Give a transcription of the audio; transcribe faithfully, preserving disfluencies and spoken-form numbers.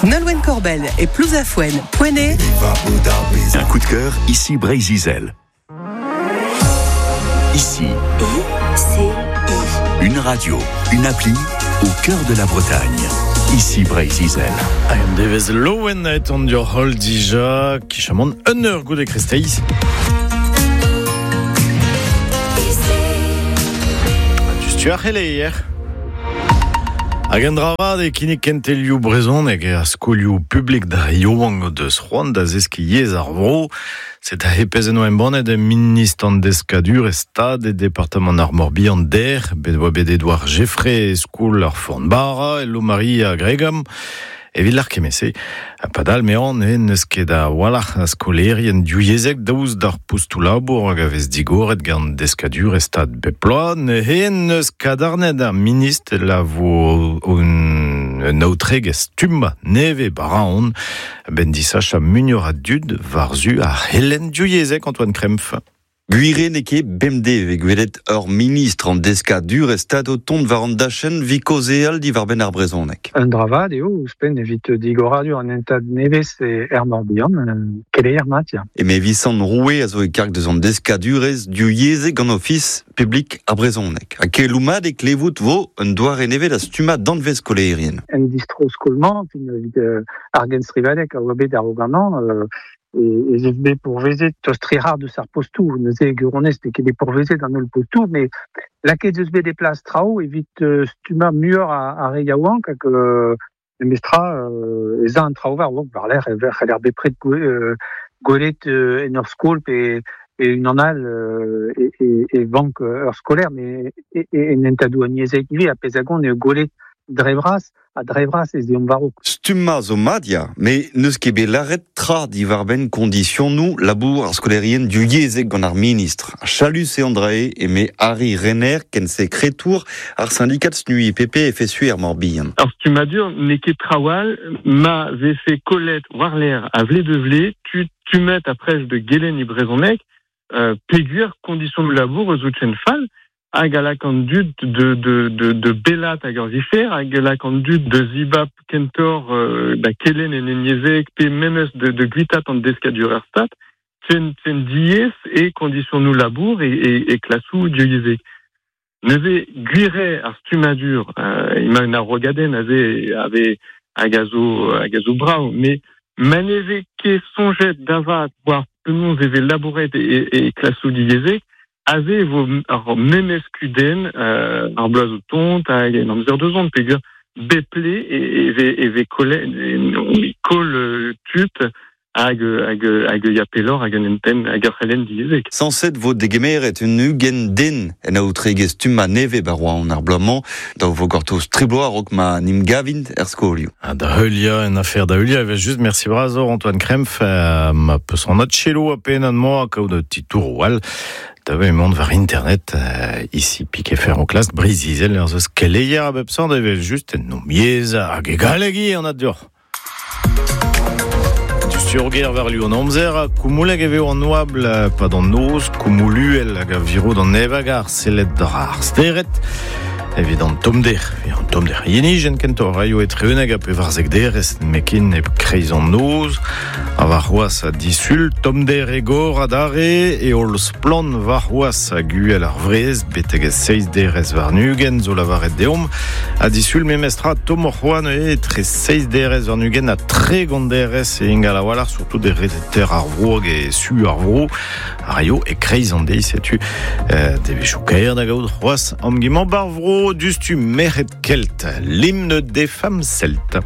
Nolwenn Korbell et Plouzafouen, Poinet. Un coup de cœur, ici Breizh-Izel. Ici. I C I. Une radio, une appli, au cœur de la Bretagne. Ici Breizh-Izel. Hag an devez loen aet an dior hol dija, kichamant un eur goude kresteiz. Tu ar c'heleier. Hag an dravad e kinnig kentelioù brezhoneg e a skolioù publik da yaouank deus c'hoant da zeskiñ yezh ar vro. Set a hepez en oa embannet e ministr an deskadur e stad e departamant ar Morbihan der, bet oa bet Edouard Geffray e skol ar Fornbara, e Lomari a Gregam, evit l'ar kemese. A padal mean e neus ket a walc'h a skolerien divyezhek daoust d'ar postoù labour hag a vez digoret gant deskadur e stad bep bloaz. Ne hen neus kadarnet ar ministr la vo un, un aotregezh stumma neve baraon ben disach a muioc'h a dud war-zu ar c'helenn divyezhek Antoine Krempf. Gwire n'eo ket bemdez e gwelet ur ministr an deskadur e stad o tont war an dachenn vi kaozeal diwar-benn ar brezhoneg. Un dravad eo ouzhpenn evit digoradur an hentad nevez e er Morbihan, keleier mat ya. Eme Visant Roue a zo e karg deus an deskadurezh divyezhek gant ofis publik ar brezhoneg. Ha keloù mat e klevout vo un doare nevez da stummañ danvez skolerien. En distro skolmañ, fin evit ar genstrivadeg a oa bet ar oganan, euh, et, et bet pourvezet tost-tre-har deus ar postou, neuze guronez n'eo ket bet pourvezet an holl postou, mais lakaet eus bet des places traoù evit euh, stummañ muioc'h a, a re yaouank hag euh, memestra euh, ez a an traoù war war war-lerc'h e c'heller bepred gwe, euh, gwelet euh, en ur skol pe pe unan all euh, e, e, e vank ur skolaer, mais e, e, en hentadoù an yezhek ivez a pezh a gont eo gwelet dre vras, a dre vras ez eomp war-raok. Stummañ zo mat ya, met n'eus ket bet lâret tra diwar-benn kondisionoù labour ar skolerien divyezhek gant ar ministr. A chalus eo an drae eme Harry Renner ken sekretour ar syndikat SNUI P P F S U er Morbihan. Ar stummadur n'eo ket trawal ma vefe kollet war-lerc'h a vle de vle, tu, tu met a prej de gelen e brezhoneg, euh, peogwir kondisionoù labour eus out chen fall, hag a lak an dud de, de, de, de belat hag ur vifer, hag a lak an dud de zibab kentor, euh, da kelen en enyezek, pe memes de, de gwitat an deskadur er stat, chen, chen diez e kondisionoù labour e, e, e klasou divyezhek. Neuze gwire ar stummadur, euh, ima un arrogadenn aze ave hag a zo, hag a zo brav, mais maneve ket soñjet davat war penaos e vez labouret e, e, e klasou divyezhek, aze vo ar memes kudenn, euh, ar bloaz o tont hag en amzer de zont, peogwir beple e, e ve, e ve kole, e, e kol tud hag, hag, hag ya pelor hag an enten hag ar c'helenn divyezhek. Sañset vo degemeret un ugent den en aotregezh stummañ nevez ba Roazhon ar bloaz-mañ, da vo gortoz tri bloaz a-raok ma n'im gavint er skolioù. Ha da heuliañ en afer da heuliañ, evel just merci bras Antoine Krempf, euh, ma peus an adchelo a pen an moa kaout un petit tour wall. Da ve mont war internet, euh, ici piqué fer en classe, Breizh-Izel, ur zeus keleier a bep sort, evel just en nom yezh hag e galleg an adur. Du surger war liu an amzer, koumouleg e veo an oabl, pa d'an noz, koumouluel hag a viro d'an evag ar sellet d'ar ar steret. Evit an tomder, evit an tomder yenijen kentoc'h raio etre uneg ha pevarzek derez mekin e kreiz an noz, a war c'hoazh a disul, tomder e gor adarre, e holl splann war c'hoazh a guel ar vrez, betek e seizh derez warn-ugent zo lavaret deomp, a disul memestra tommoc'h c'hoant eo etre seizh derez warn-ugent ha tregont derez e ingal a-walc'h, surtout de reter ar vro hag e su ar vro, a raio e kreiz an deiz, setu, euh, devezhioù kaer da gaout c'hoazh am gimañ bar vro dustu merc'hed kelt, l'hymne des femmes celtes.